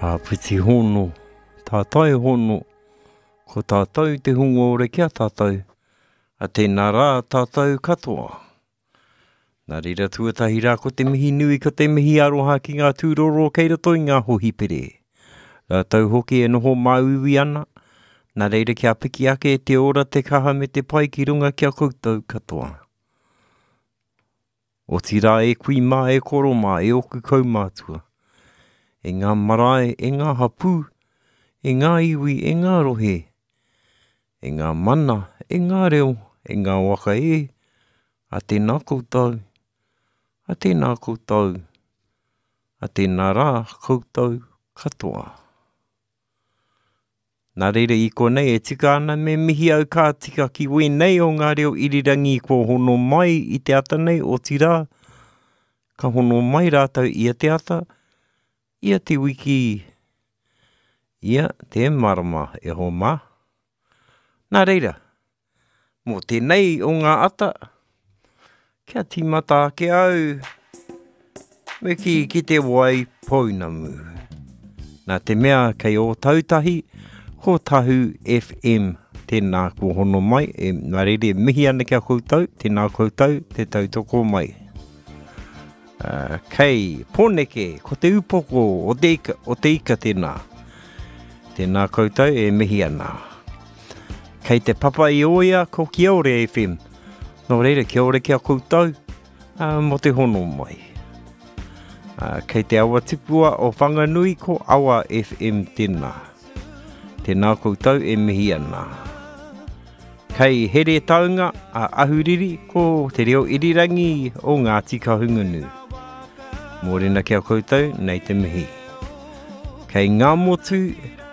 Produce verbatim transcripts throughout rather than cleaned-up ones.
Āpiti hono, tātai hono, ko tātou te hunga ora ki a tātou, a tēnā rā tātou katoa. Nā reira tuatahi rā ko te mihi nui, ko te mihi aroha ki ngā tūroro kei roto i ngā hohipere. Rātou hoki e noho māuiui ana, nā reira kia piki ake te ora, te kaha me te pai ki runga ki a koutou katoa. Otirā e kui mā, e koro mā, e oku kaumātua. E ngā marae, e ngā hapū, e ngā iwi, e ngā rohe, e ngā mana, e ngā reo, e ngā waka e, a tēnā koutou, a tēnā koutou, a tēnā rā koutou katoa. Nā reira i konei e tika ana me mihi au ka tika ki wēnei o ngā reo irirangi kua hono mai i te ata nei, otirā, ka hono mai rātou ia te ata, ia te wiki, ia te marama e ho mā. Nā reira, mō tēnei o ngā ata, kia tīmata ake au, me ki ki te wai pounamu. Nā te mea kei Ōtautahi, ko Tahu F M tēnā ko hono mai, e, nā reira e mihi ana ki a koutou, tēnā koutou, te tautoko mai. Uh, kei Pōneke, ko te upoko o te ika, o te ika tēnā. Tēnā koutou e mihi ana. Kei te papa i oia ko Kiore F M. Nō reira, kia ora ki a koutou, uh, mō te hono mai. Uh, kei te awa tipua o Whanganui ko Awa F M tēnā. Tēnā koutou e mihi ana. Kei Heretaunga a Ahuriri ko te reo irirangi o Ngāti Kahungunu. Mōrena ki a koutou, nei te mihi. Kei Ngāmotu,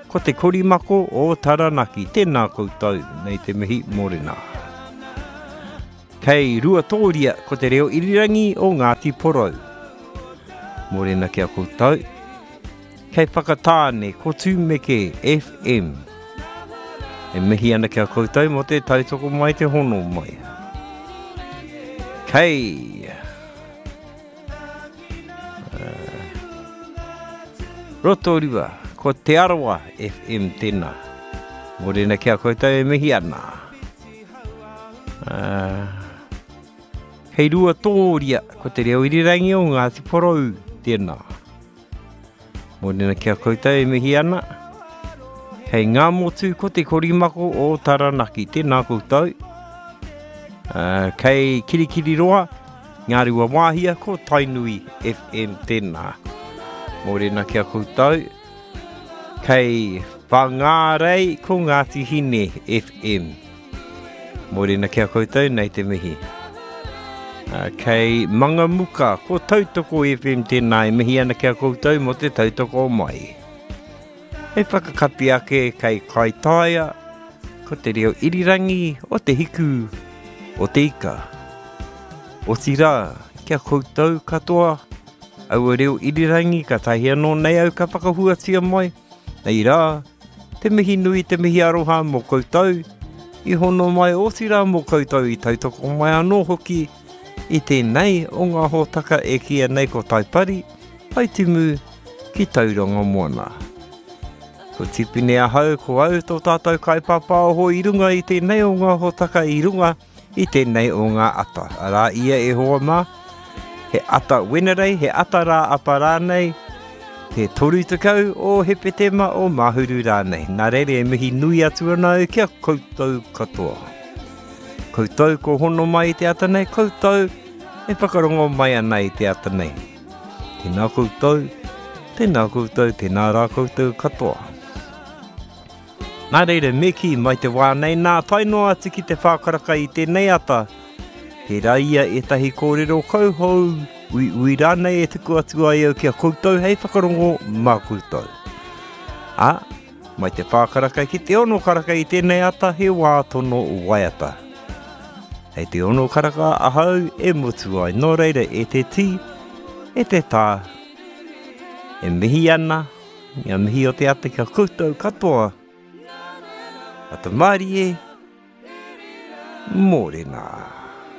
ko te korimako o Taranaki. Tēnā koutou, nei te mihi, mōrena. Kei Ruatōria, ko te reo irirangi o Ngāti Porou. Mōrena ki a koutou. Kei Whakatāne, ko Tūmeke F M. E mihi ana ki a koutou mō te tautoko mai te hono mai. Kei uh, Rotorua, ko Te Arawa F M tēnā. Mōrena ki a koutou e mihi ana. Uh, kei Ruatōria, ko te reo irirangi o Ngāti Porou tēnā. Mōrena ki a koutou e mihi ana. Kei Ngāmotu, ko te korimako o Taranaki. Tēnā koutou. Uh, kei Kirikiriroa, Ngā Wāhia, ko Tainui F M tēnā. Mōrena ki a koutou. Kei Whangārei, ko Ngāti Hine F M. Mōrena ki a koutou, nei te mihi. Uh, kei Mangamuka, ko Tautoko F M tēnā e mihi ana ki a koutou mō te tautoko mai. Hei whakakapi ake kei Kaitaia, ko te reo irirangi o te hiku o te ika. Otirā, kia koutou katoa, aua reo irirangi ka tahi anō nei au ka whakahuatia mai. Nei rā, te mihi nui, te mihi aroha mō koutou, i hono mai otirā mō koutou i tautoko mai anō hoki, i tēnei o ngā hōtaka e kīia nei ko Taipari, Taitimu ki Tauranga Moana. Ko Tipene ahau, ko au tō tātou kaipāpāoho i runga i tēnei o ngā hōtaka i runga i tēnei o ngā ata. Arā ia e hoa mā, he ata Wenerei, he ata rā apa rānei, te toru tekau o Hepetema o Mahuru rānei. Nā reira e mihi nui atu ana au ki a koutou katoa. Koutou ko hono mai i te ata nei, koutou e whakarongo mai ana i te ata nei. Tēnā koutou, tēnā koutou, tēnā rā koutou katoa. Nā reira, me kī mai te wā nei nā, tae noa atu ki te whākaraka i tēnei ata. Tērā ia ētahi kōrero kauhou, ui ui rānei e tuku atu ai au ki a koutou hei whakarongo mā koutou. Ā, mai te whākaraka ki te ono karaka i tēnei ata he wā tono waiata. Hei te ono karaka ahau e mutu ai, nō reira e te tī, e te tā. E mihi ana, ngā mihi o te ata ki a koutou katoa. Ata mārie, mōrena.